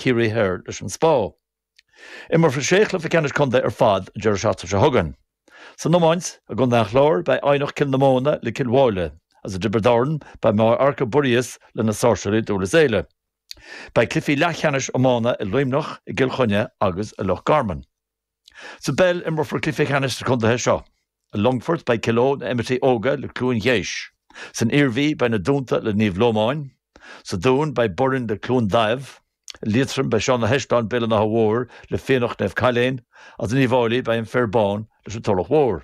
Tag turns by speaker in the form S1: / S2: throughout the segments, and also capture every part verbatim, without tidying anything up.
S1: Ciarraí Thoir leis an Spá. Imreofar sé chluiche ceannais contae ar fad an deireadh seachtaine seo chugainn. San iomáint, i gContae an Chláir beidh Eidhneach Cill na Móna le Cill Mháille, agus i dTiobraid Árann beidh Maigh Arca Buiríos le na Sáirséalaigh Dúrlas Éile. Beidh cluichí leathcheannais iomána i Luimneach, i gCill Chainnigh agus i Loch Garman. Sa bpeil imreofar cluichí ceannais sna contaetha seo. I Longfort beidh Cill Eo na Imearthaí Óga le Cluain Gheis. San Iarmhí beidh na Dúnta le Naomh Lómáin. Sa Dún beidh Boirinn le Cluain Daimh. I Liatroim beidh Seán na hEisleán Béal an Átha Mhóir le Fiannacht Naomh Cailéin, agus in Uíbh Fhailí beidh an Fir Bán leis an Tulach Mhór.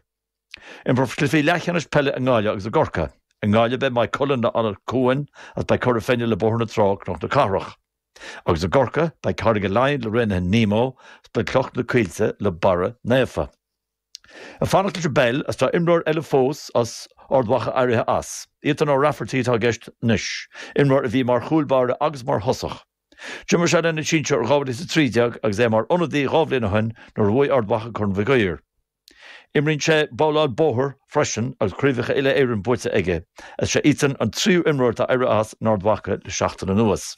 S1: Imreofar cluichí leathcheannais peile i nGaillimh agus i gCorcaigh. I nGaillimh beidh Maigh Cuilinn le Anach Cuain agus beidh Cora Finne le Bóthar na Trá Cnoc na Cathrach. Agus i gCorcaigh beidh Carraig Laighean le Raonaithe Nemo agus beidh Cloch na Coillte le Barra Naofa. Ag fanacht leis an bpeil is tá imreoir eile fós as Ard Mhacha éirithe as. Ethan O'Rafferty atá i gceist anois, imreoir a bhí mar chúl báire agus mar thosach. D'imir sé lena sinsir dhá mhíle is a trí déag agus é mar ionadaí dhá bhliain ó shin nuair a bhuaigh Ard Mhacha Corn Mhig Uidhir. Imríonn sé babhláil bóthair freisin agus craobhacha uile-Éireann buaite aige. Is é Ethan an tríú imreoir atá éirithe as in Ard Mhacha le seachtain anuas.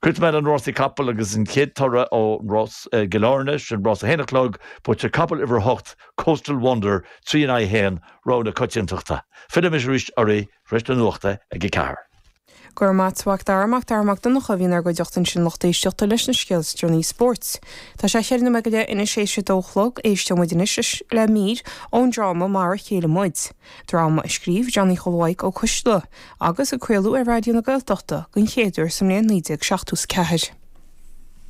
S1: Críochnóidh mé le na rásaí capall agus an chéad toradh ón rás i gCill Airne, sin rás a haon a chlog, buaite ag capall uimhir a hocht, Coastal Wonder, trí in aghaidh a haon, rogha na coitiantachta. Fillfidh mise arís oraibh tar éis na nuachta ag a ceathair.
S2: Go raibh maith agat a Mhac Dara, Mac Dara Mac Donncha a bhí inár gcuideachta ansin lucht éisteachta leis na scéalta is deireanaí spóirt. Tá sé cheithre nóiméad go leith anois théis a dó a chlog, éisteoidh muid anois le mír ón dráma Mar a Chéile Muid. Dráma a scríobh Johnny Chóil Mhaidhc Ó Coisdealbha agus a craoladh ar Raidió na Gaeltachta den chéad uair sa mbliain naoi déag seachtó is ceathair.